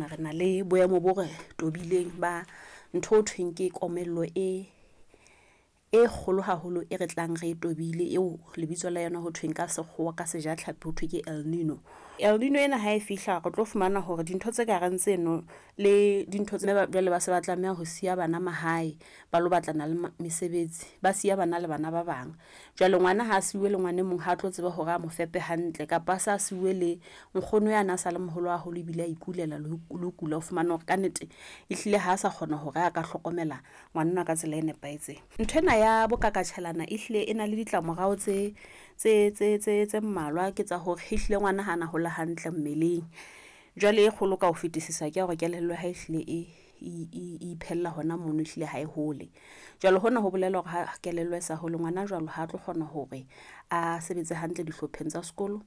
mona re na le boemo bo re tobileng ba ntho ho thweng ke komello e e kgolo haholo e re tlang re e tobile eo lebitso la yona ho thweng ka sekgowa ka sejatlhapi ho thwe ke El Nino. El Nino ena ha e fihla re tlo fumana hore dintho tse ka reng tseno le dintho tse jwale ba se ba tlameha ho siya bana mahae ba lo batlana le mesebetsi, ba siya bana le bana ba bang. Jwale ngwana ha a siuwe le ngwana e mong ha a tlo tseba hore a mo fepe hantle kapa a sa siuwe le nkgono ya na sa le moholo haholo ebile a ikulela le ho kula, o fumana hore ka nnete ehlile ha a sa kgona hore a ka hlokomela ngwanenwa ka tsela e nepahetseng. Ntho ena ya bokakatjhelana ehlile e na le ditlamorao tse mmalwa, ke tsa hore ehlile ngwana ha na hola hantle mmeleng. Jwale e kgolo ka ho fetisisa ke ya hore kelello ya hae ehlile e iphella hona mono, ehlile ha e hole. Jwale hona ho bolela hore ha kelello e sa hole ngwana jwalo ha tlo kgona hore a sebetse hantle dihlopheng tsa sekolo.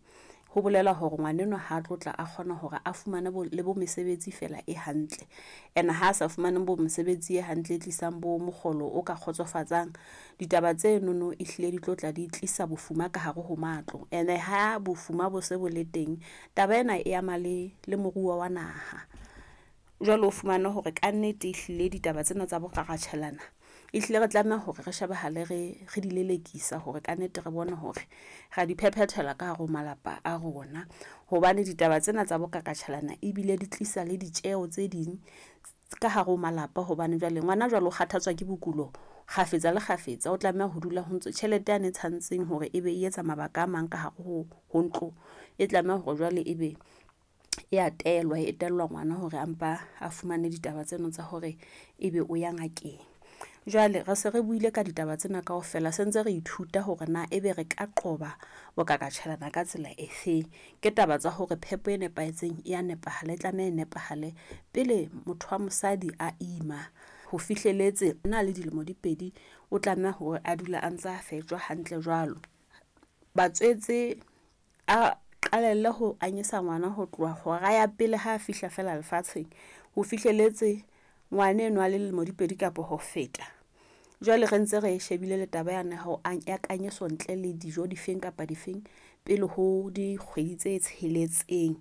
Ho bolela hore ngwanenwa ha tlo tla a kgona hore a fumane bo le bo mesebetsi fela e hantle. Ene ha sa fumane bo mesebetsi e hantle e tlisang bo mokgolo o ka kgotsofatsang, ditaba tse nono ehlile di tlo tla di tlisa bofuma ka hare ho matlo. Ene ha bofuma bo se bo le teng, taba ena e ama le moruo wa naha. Jwale o fumane hore ka nnete ehlile ditaba tsena tsa bokgaratjhelana ehlile re tlameha hore re shebahale re di lelekisa hore ka nnete re bone hore ra di phephethela ka hare ho malapa a rona. Hobane ditaba tsena tsa bokakatjhelana ebile di tlisa le ditjeho tse ding ka hare ho malapa, hobane jwale ngwana jwale o kgathatswa ke bokulo kgafetsa le kgafetsa, o tlameha ho dula ho ntso tjhelete yane e tshwantseng hore ebe e etsa mabaka a mang ka hare ho ntlo, e tlameha hore jwale ebe e a telwa, e tellwa ngwana hore a mpa a fumane ditaba tseno tsa hore ebe o ya ngakeng. Jwale re se re buile ka ditaba tsena kaofela, se ntse re ithuta hore na ebe re ka qoba bokakatjhelana ka tsela e feng. Ke taba tsa hore phepo e nepahetseng e ya nepahala, e tlameha e nepahale pele motho wa mosadi a ima ho fihleletse na le dilemo di 2, o tlameha hore a dula a ntsa fetjwa hantle jwalo. Batswetse a qalelle ho anyesa ngwana ho tloha hora ya pele ha a fihla fela lefatsheng ho fihleletse ngwana enwa a le lemo di 2 kapa ho feta. Jwale re ntse re shebile le taba yane ho ya kanyeso ntle le dijo difeng kapa difeng pele ho dikgwedi tse 6,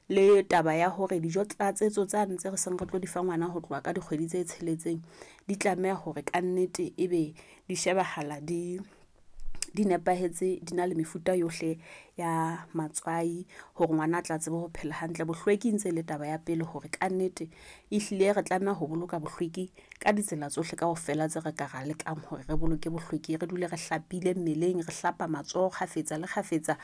le taba ya hore dijo tlatsetso tsane tse re seng re tlo di fa ngwana ho tloha ka dikgwedi tse 6 di tlameha hore ka nnete ebe di shebahala di nepahetse, di na le mefuta yohle ya matswai hore ngwana a tla tsebe ho phela hantle. Bohlweki ntse le taba ya pele hore ka nnete ehlile re tlameha ho boloka bohlweki ka ditsela tsohle kaofela tse re ka ra lekang hore re boloke bohlweki, re dule re hlapile mmeleng, re hlapa matsoho kgafetsa le kgafetsa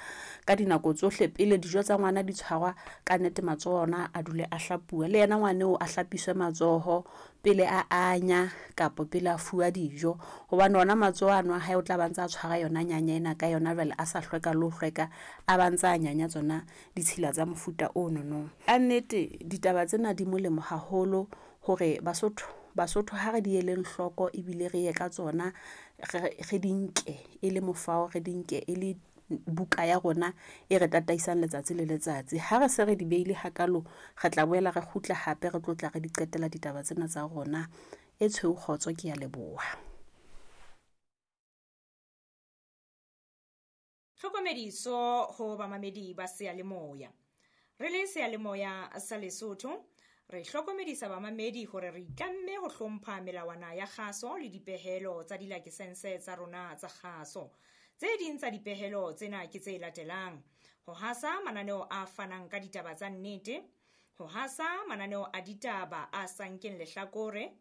ka dinako tsohle pele dijo tsa ngwana di tshwarwa. Ka nnete matsoho ona a dule a hlapuwa, le yena ngwana eo a hlapiswe matsoho pele a anya kapa pele a fuwa dijo, hobane ona matsoho ano a hae o tla ba ntse a tshwara yona nyanya ena ka yona jwale a sa hlweka le ho hlweka, a ba ntse a nyanya tsona ditshila tsa mofuta o nonong. Ka nnete ditaba tsena di molemo haholo hore Basotho ha re di eleng hloko ebile re ye ka tsona, re di nke e le mofao, re di nke e le buka ya rona e re tataisang letsatsi le letsatsi. Ha re se re di beile hakalo, re tla boela re kgutla hape re tlo tla re di qetela ditaba tsena tsa rona. E tshweu kgotso, ke ya leboha. Tlhokomediso ho bamamedi ba seyalemoya. Re le seyalemoya sa Lesotho, re hlokomedisa bamamedi hore re itlamme ho hlompha melawana ya kgaso le dipehelo tsa dilakesense tsa rona tsa kgaso. Tse ding tsa dipehelo tsena ke tse latelang: ho hasa mananeo a fanang ka ditaba tsa nnete, ho hasa mananeo a ditaba a sa nkeng lehlakore,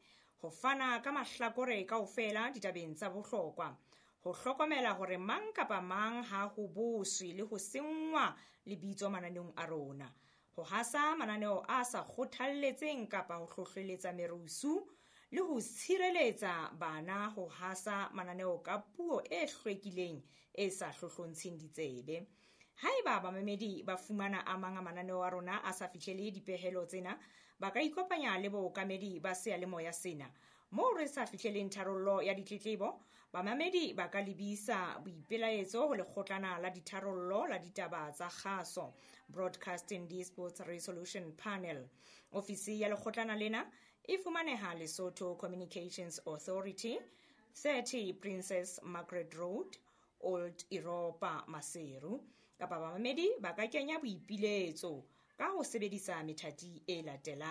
ho fana ka mahlakore kaofela ditabeng tsa bohlokwa, ho hlokomela hore mang kapa mang ha ho boswe le ho senngwa lebitso mananeong a rona, ho hasa mananeo a sa kgothalletseng kapa ho hlohleletsa merusu, le ho tshireletsa bana ho hasa mananeo ka puo e hlwekileng e sa hlohlontsheng ditsebe. Haeba bamamedi ba fumana a mang a mananeo a rona a sa fihlele dipehelo tsena, ba ka ikopanya le bookamedi ba seyalemoya sena. Moo re sa fihleleng tharollo ya ditletlebo, bamamedi ba ka lebisa boipelaetso ho lekgotlana la ditharollo la ditaba tsa kgaso, Broadcasting Disputes Resolution Panel. Ofisi ya lekgotlana lena e fumaneha Lesotho Communications Authority, 30 Princess Margaret Road, Old Europa, Maseru. Kapa bamamedi ba ka kenya boipiletso ka ho sebedisa methati e latelang.